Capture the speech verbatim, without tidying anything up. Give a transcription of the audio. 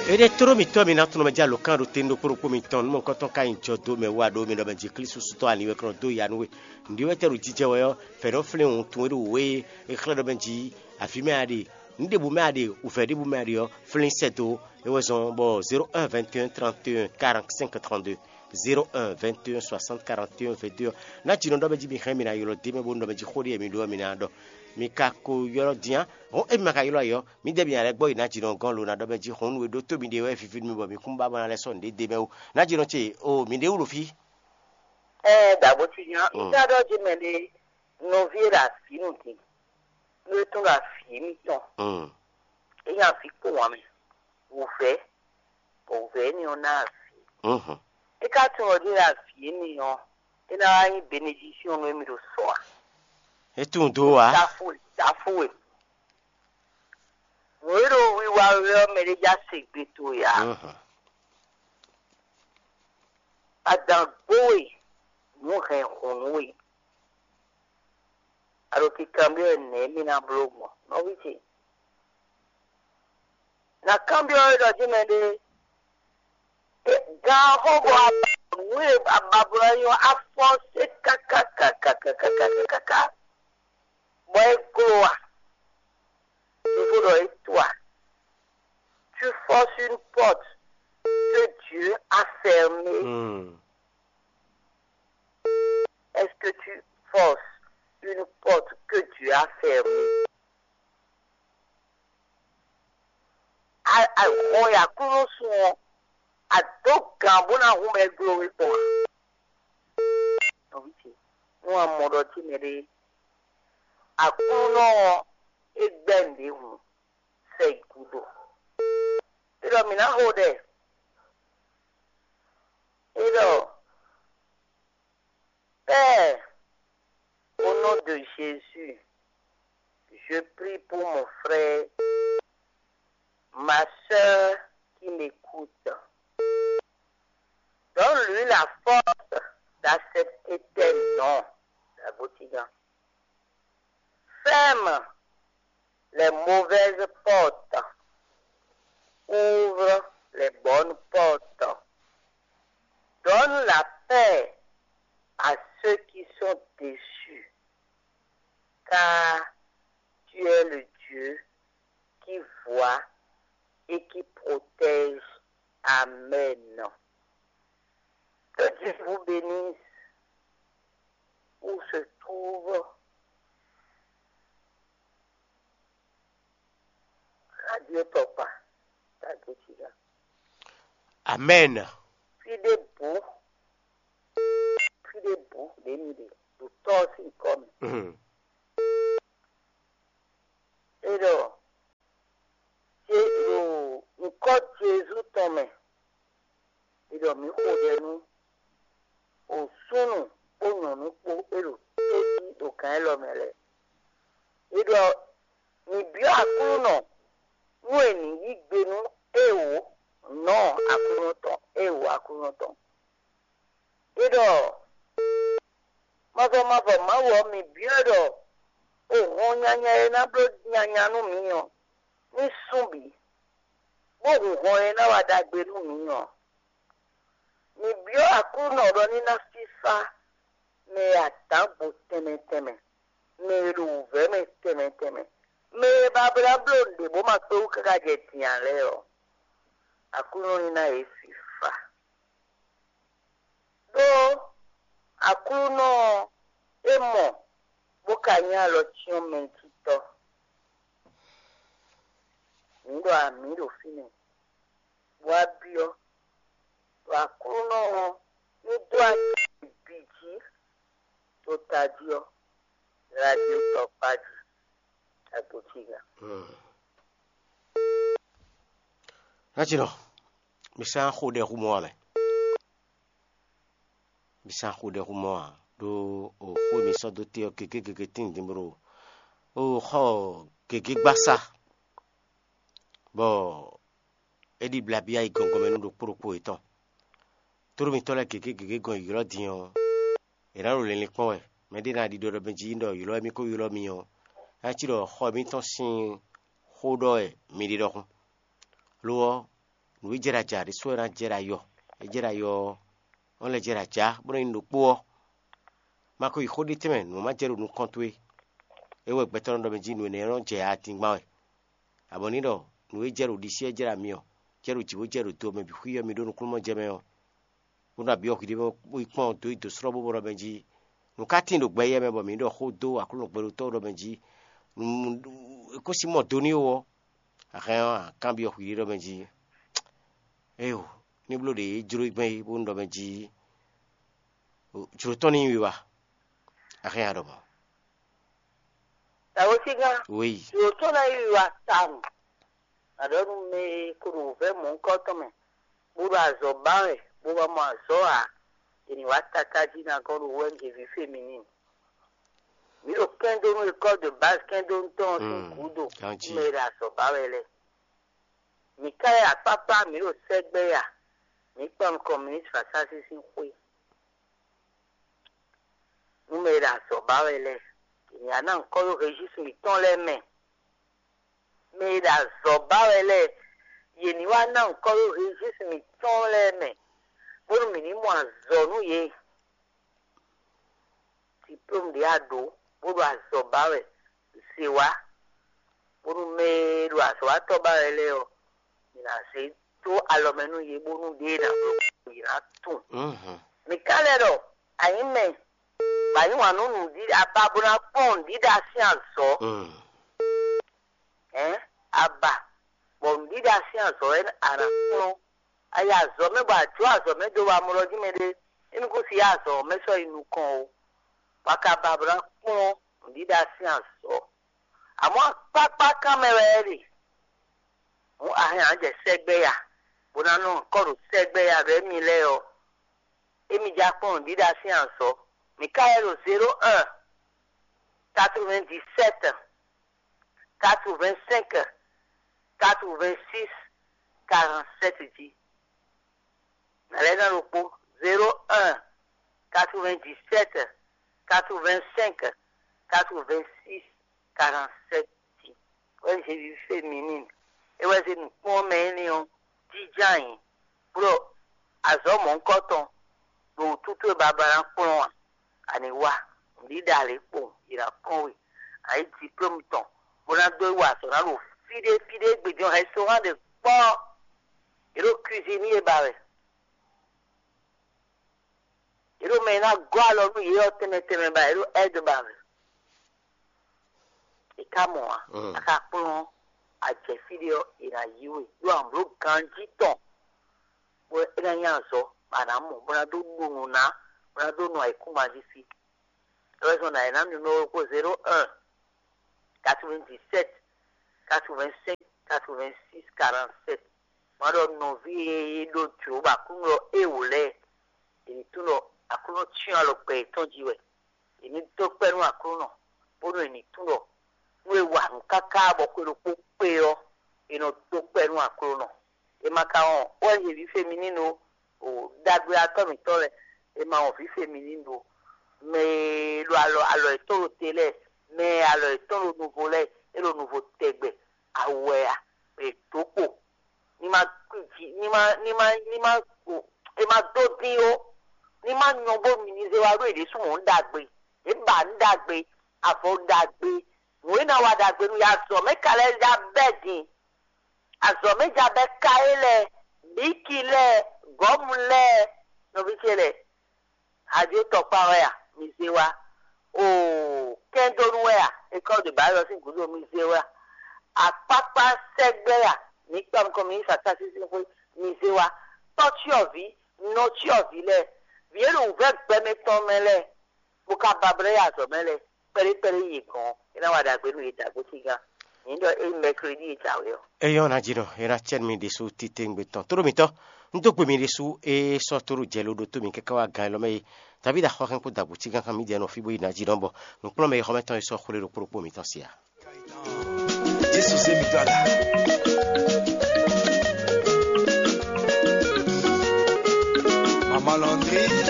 Éɖée tló mitɔ́ mi ná tunwun mɛ jɛ alǒkan ɖo tɛn ɖokpó ɖokpó mitɔn nú mɔ̌hunkɔtɔn ka nyi jɔ dó mɛ wú aɖó mi ɖɔ mɛ jí Klísu sú tɔ́ ani wɛ kɔn dó ya nú we. Nǔɖé wɛ tɛ́ ɖo jijɛ wɛ ɔ́, fɛ̌ nɔ flín wuntun e ɖo wǔ e è xlɛ́ ɖɔ mɛ jí avǐ mɛ a ɖe, nǔ ɖěbǔ mɛ a ɖe, wǔvɛ́ ɖěbǔ mɛ a ɖe ɔ́, flín sɛ́ dó. É wɛ zɔ́n bɔ zéro un vingt et un trente et un quarante-cinq trente-deux, zéro un vingt et un soixante quarante et un vingt-deux ɔ́, ná jǐ nɔ ɖɔ mɛ jí mi hɛn mi ná ylɔ́ d'é mɛ bónú ɖɔ mɛ jí xó ɖé e mi ɖó ɔ́ mi ná ɖɔ. Mi ka ko ylɔ́ din á. Hɔn émi ma ka ylɔ́ ayǐ ɔ́, mǐdɛɛ mi nya lɛ́ gbɔ yi ná jǐ nɔ gɔ́n lo ná ɖɔ mɛ jí hɔn nú e ɖótó mi ɖe wɛ víví nú mi bɔ mi kún ba ma lɛ́ sɔ́ nǔɖé d'é mɛ ó. Ná jǐ nɔ ce o mǐ ɖé wú ɖo fí. Ɛɛ, dǎbo ci nya, un ka ɖɔ jí mɛ ɖé nɔví e ɖo avǐ nu din, nú é tún ɖo avǐ mitɔn, é nya avǐ kpó wǎn mɛ, wǔvɛ́, bɔ wǔvɛ́ énɛ́ ɔ́ ná avǐ. É ka tunwun ɔ́ ɖé ɖo avǐ énɛ́ ɔ́, é ná wá nyí benedisíɔn nú émí ɖo sɔ ǎ. É tunwun dó ǎ. Tafu e, tafu e. Nǔ e ɖo wiwa wɛ ɔ́, mɛ ɖé já se gbe towe ǎ. Adǎn gbo we, nǔ hɛn hǔn nú we. A ɖo kikanbyɔ́ wɛ nɛ̌ mì ná bló gbɔn, nɔví ce? Ná kanbyɔ́ we ɖɔ jí mɛ ɖé, gan xó bɔ a ba nǔ e a ba bló ɔ́ nyí ɔ́, a fɔ́sé káká káká káká káká káká, bɔ é gló a? Ɖěvo ɖɔ é to a? Tu forces une porte que Dieu a fermée. Est-ce que tu forces une porte que Dieu a fermée? A a hɔn ya kúnú sun ɔ́, a dó gǎn bó ná hu mɛ gló we gbɔn a? Nɔví ce, nú a mɔ ɖɔ jí mɛ ɖé, Aklúnɔ ɔ́, é gbɛ́ nǔɖé hǔn, sɛ yi gúdo. É ɖɔ mǐ ná xo ɖɛ. É ɖɔ Père, au nom de Jésus, je prie pour mon frère, ma sœur qui m'écoute. Donne-lui la force d'accepter tes noms. Dagotigan. Ferme les mauvaises portes. Ouvre les bonnes portes. Donne la paix à ceux qui sont déçus, car tu es le Dieu qui voit et qui protège. Amen. Que Dieu vous bénisse où se trouve Radio Tɔkpa, Radio Tiga. Amen. Fide bu, fide bu, ɖe mi ɖe, ɖo tɔ si kɔ mi. Mhm. E ɖɔ, je ɖo ŋkɔ Jezu tɔn mɛ, e ɖɔ mi xo ɖɛ nú o súnnu kpó nyɔ̌nu kpó e ɖo tó jí ɖo gǎn élɔ́ mɛ lɛ́ɛ. E ɖɔ mi byɔ́ Aklúnɔ nú è nǐ yí gbe nú éwǒ nɔ Aklúnɔ tɔn, éwǒ Aklúnɔ tɔn. E ɖɔ mavɔ mavɔ Mawu ɔ́, mi byɔ́ ɖɔ o hɔn nyanya e ná bló nyanya nú mǐ ɔ́, ní sún bǐ, bó hun hɔn e ná wa ɖagbe nú mǐ ɔ́. Mi byɔ́ Aklúnɔ ɖɔ ní ná fífá mɛ e adǎn gbo tɛnmɛ tɛnmɛ, mɛ e ɖo wǔvɛ́ mɛ tɛnmɛ tɛnmɛ, mɛ e ba blá bló nǔɖé bó ma kpé wú káká jɛ din ǎ lɛ́ɛ ɔ́, Aklúnɔ ní ná yě fífá. Đó Aklúnɔ ɔ́, é mɔ, bó ka nyí alɔ cyɔ́n mɛjitɔ́. Mǐ ɖo amǐ ɖo fínɛ́, bó wá byɔ́, ɖo Aklúnɔ ɔ́ ní dó acɛ bǐ jí ɖo tají ɔ́, radio tɔkpá jí, agbǒciga. Nátsinɔ, mi sɛ́n xó ɖɛ hú mɔ wá mɛ. Mi sɛ́n xó ɖɛ hú mɔ wá ɖó o xó e mi sɔ́ dó te ɔ́ gěgé gěgé tíin din bó ɖo o xɔ gěgé gbasá, bɔ é ɖi blabyá yi gɔngɔn mɛ nú ɖokpó ɖokpó yětɔn. Tlóló mitɔ́ lɛ́ɛ gěgé gěgé gɔn ylɔ́ din ɔ́, è nǎ ɖo linlin kpɔ́n wɛ. Mɛɖé ná ɖiɖɔ ɖɔ mɛ jí ɖɔ ylɔ́ émí ko ylɔ́ mi ɔ́, é ná cí ɖɔ xɔ mǐtɔn sín xó ɖɔ wɛ mi ɖe ɖɔhun. Lo ɔ́, Nǔ e jɛ ɖo ajǎ ɖésú wɛ ná jɛ ɖo ayɔ. E jɛ ɖo ayɔ ɔ́, ɔ́ lɛ́ jɛ ɖo ajǎ, bó nɔ́ nyí nǔ ɖokpó ɔ́, ma ko yi xó ɖé tɛnmɛ nǔ ma jɛ ɖo nukɔn towe. É wɛ gbɛtɔ́ nɔ ɖɔ mɛ jí nǔ énɛ́ nɔ jɛ adingban wɛ. Abɔ ní ɖɔ nǔ e jɛ ɖo ɖisí ɔ́ jɛ ɖo ami ɔ́, jɛ ɖo jǐ bó jɛ ɖo do ɔ́ mɛ bǐ xwí ɔ́ mi ɖó nukúnnú jɛ mɛ ɔ́, bó nɔ abǐ ɔ́ hwi ɖé bó yi kpɔ́n dó yi dǒ slɔ́ bó ɖɔ mɛ jí nǔ ka tíin ɖo gbɛ éyɛ́ mɛ bɔ mǐ ɖɔ xó dó Aklúnɔ gbɛɖotɔ́ ɖɔ mɛ jí, é kó sí mɔ do n'i ó ɔ́, a hɛn ɔ́, a kanbyɔ́ hwi ɖé ɖɔ mɛ jí, éyo, ní bló ɖě jló gbɛn é bónú ɖɔ mɛ jí jlǒ tɔn ní nyí wiwa. A hɛn a ɖɔ mɔ̌. Tawosígán, Wéyi. Jlǒ tɔn ná nyí wiwa tawun. Aɖɔ̌nu mɛ e ko ɖo wǔvɛ́ mɔ̌hunkɔtɔn mɛ, bó ɖo azɔ̌ ba wɛ, bó wá mɔ azɔ̌ ǎ, è nǐ wá tatájí ná gɔ́n ɖo wɛ́njeví féminin. Mǐ ɖo kɛ́ndónú école de base kɛ́ndónú tɔn ɔ́ sín gǔdo, mɛ e ɖo azɔ̌ ba wɛ lɛ́ɛ. Mǐ ká yɛ akpákpá, mǐ ɖo sɛ́gbɛ́ ya, mǐ kpan nukɔn minisitiri Fasási sín xwé. Nú mɛ e ɖo azɔ̌ ba wɛ lɛ́ɛ, è nǐ wá ná nyǐkɔ ɖó registre mǐtɔn lɛ́ɛ mɛ. Mɛ e ɖo azɔ̌ ba wɛ lɛ́ɛ, yě ní wá ná nyǐkɔ ɖó registre mǐtɔn lɛ́ɛ mɛ, bónú mǐ ní mɔ azɔ̌ nú yě. Diplôme ɖě a ɖǒ, bó ɖo azɔ̌ ba wɛ, zě wá, bónú mɛ e ɖo azɔ̌watɔ́ ba wɛ lɛ́ɛ ɔ́, mǐ ná zé dó alɔ mɛ nú yě, bónú ɖěe ná bló yě ná tunwun. Mǐ ka lɛ́ ɖɔ a nyǐ mɛ, bɔ a yǐ wǎn nú nǔɖiɖa, a ba bó ná kpɔ́n nǔɖiɖa sín azɔ̌. Ɛ̌n, a ba, bɔ nǔɖiɖa sín azɔ̌ wɛ a nǎ kplɔ́n. A yi azɔ̌ mɛ bɔ a jǒ azɔ̌ mɛ dó wá mlɔ́ jí mɛɖé, émí kún si yá azɔ̌ ɔ́ mɛ sɔ́ yi nukɔn ó. Bɔ a ka ba bó ná kplɔ́n nǔɖiɖa sín azɔ̌. Amɔ̌ akpákpá kán mɛ wɛ é ɖe. Hǔn a hɛn ǎ jɛ sɛgbɛ ya, bó ná nɔ kɔ́ ɖo sɛgbɛ ya ɖɔ émí lɛ́ɛ ɔ́, émí já kpɔ́n nǔɖiɖa sín azɔ̌. Mǐ ka wɛ ɖo zéro un, quatre-vingt-dix-sept, quatre-vingt-cinq, quatre-vingt-six, quarante-sept jí. Nǎ lɛ́ ná ɖokpó, zéro un, quatre-vingt-dix-sept, quatre-vingt-cinq, quatre-vingt-six, quarante-sept jí. Wɛ Zezi féminin, é wɛ zé nǔkpɔ́n mɛ énɛ́ ɔ́ jínjɔ́n ayǐ, bó ɖɔ azɔ̌ mɔ̌hunkɔtɔn ɖo wǔtútú e Babla ná kplɔ́n ǎ. A nǐ wá nǔɖiɖa lě kpowun, è nǎ kpɔ́n we, a yǐ diplôme tɔn, bó ná dó yi wa azɔ̌ ná ɖo fí ɖé fí ɖé gbe din ɔ́, hɛn sóhán ɖě kpɔ́. Yě ɖo cuisinier ba wɛ. Yě ɖo mɛ e ná gɔ́ alɔ nú yě ɔ́ tɛnmɛ tɛnmɛ ba, yě ɖo aide ba wɛ. È ká mɔ ǎ, a ka kplɔ́n ajɛ̌ fí ɖé ɔ́, è nǎ yí we ɖó amblǒ ganjí tɔn, bɔ é ná nyí azɔ̌, bɔ a nǎ mɔ, bó ná dó ɖu nǔ ná, bó ná dó nu ayǐkúngban jí sí. É wɛ zɔ́n ɖɔ è nǎ nu nú we kpó zéro un, quatre-vingt-dix-sept, quatre-vingt-cinq, quatre-vingt-six, quarante-sept. Má ɖɔ nɔví e ɖo jlǒ bɔ Aklúnɔ ɔ́ é wǒ lɛ́ɛ, è ní tunwun ɖɔ Aklúnɔ cyɔ́n alɔ gbɛ yětɔn jí wɛ. È ní dó kpɛ́ nú Aklúnɔ, bónú è ní tunwun ɖɔ nú è wa nǔ káká bɔ xwe ɖokpó kpé ɔ́, è nɔ dó kpɛ́ nú Aklúnɔ. È ma ka wɔn wɛ nyɛ vǐ feminino o, ɖagbeatɔ́ mǐtɔn lɛ́ɛ, è ma wɔn vǐ feminino o. Mɛ e ɖo alɔ alɔ yětɔn ɖo te lɛ́ɛ, mɛ e alɔ yětɔn ɖo nuvo lɛ́ɛ, é ɖo nuvo tɛgbɛ, awɛ a, è dǒ kpo, ní ma kú jí, ní ma ní ma ní ma è ma dó dín ó, ní ma nyɔ bó mi ní zé wá ɖó è ɖésú mɔ̌ ɖagbe, è ba nǔ ɖagbe, avɔ ɖagbe, nǔ e ná wa ɖagbe nú yě azɔ̌ mɛ ka lɛ́ ɖa bɛ́ din, azɔ̌ mɛ ja bɛ́ ka é lɛ́ɛ, bǐki lɛ́ɛ, gɔ̌mu lɛ́ɛ, nɔví ce lɛ́ɛ, ajo tɔkpá wɛ a, mi zé wá, oo, kɛndónú wɛ a, école de base ɔ́ sín gǔdo mi zé wá, akpákpá sɛgbɛ a, mi kpa nukɔn mi yi sasa sísí xwé, mi zé wá, tɔ́cyɔvǐ, nɔcyɔvǐ lɛ́ɛ, vǐ e ɖo wǔvɛ́ gbɛmɛ tɔn mɛ lɛ́ɛ, bó ka ba blɛ́ yi azɔ̌ mɛ lɛ́ɛ, kpɛɖé kpɛɖé yi gɔ̌n, é ná wa ɖagbe nú yě dǎgbó cígán. Nyǐ ɖɔ ényí mɛklodí e jǎwe ɔ́. Eyɔ́ ná jí nɔ, é ná cɛ́ nú mi ɖésú titewungbe tɔn. Tóɖó mitɔn, un dó gbe mi ɖésú e sɔ́ tóɖó jɛ lo ɖótó mi káká wá gan élɔ́ mɛ é. Davídi axɔ́hɛn kpó dagbo cígán kan mǐdɛɛ nɔ fí bó yi ná jí nɔ bɔ nǔkplɔ́nmɛ e xɔmɛtɔn e sɔ́ xwlé ɖokpó ɖokpó mitɔn se ǎ. Jésù zé mi dó aga. Maman Landry.